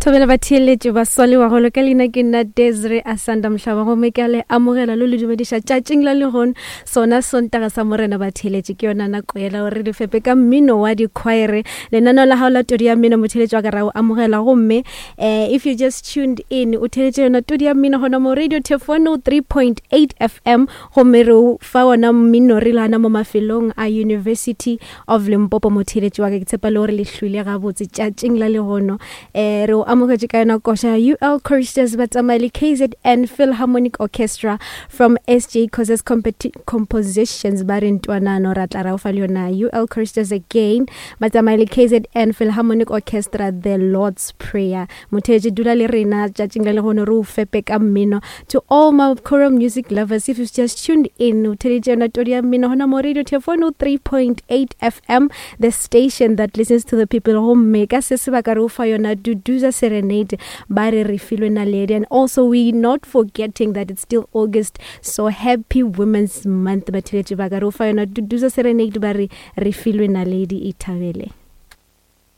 Thobela batheeletši ba swa le bagolo ka leina ke nna Desiree Asanda Mohlaba gomme ke a le amogela lo le dumediša tšatšing la lehono sona Sontaga sa Morena batheeletši ke yona nako yela gore re fepe ka mmino wa dikhwaere lenaneo la gago la todi ya mmino motheeletši wa ka ra o amogela gomme eh, if you just tuned in o theeletše yona todi ya mmino gona mo radio Tefono 3.8 FM gomme re o fa ona mmino re le gana mo mafelong a University of Limpopo motheeletši wa ka ke tshepa le gore le hlwile gabotse tšatšing la lehono um re o amogetše ka yona koša UL Choristers ba tsamaya le KZN Philharmonic Orchestra from SJ Causes Compositions ba re ntwanano ra tla ra o fa le yona UL Choristers again ba tsamaya le KZN Philharmonic Orchestra The Lord's Prayer motheetši dula le rena tšatšing la lehono re o fepe ka mmino To all my choral music lovers, if you've just tuned in, o theleditše yona todi ya mmino gona mo Radio Telefono 3.8 FM, the station that listens to the people. Gomme ka se sebaka re o fa yona Duduza Serenade, ba re re filwe naledi. And also we not forgetting that it's still August, so happy Women's Month batheletši ba ka. Re o fa yona Duduza Serenade, ba re re filwe naledi, ithabele.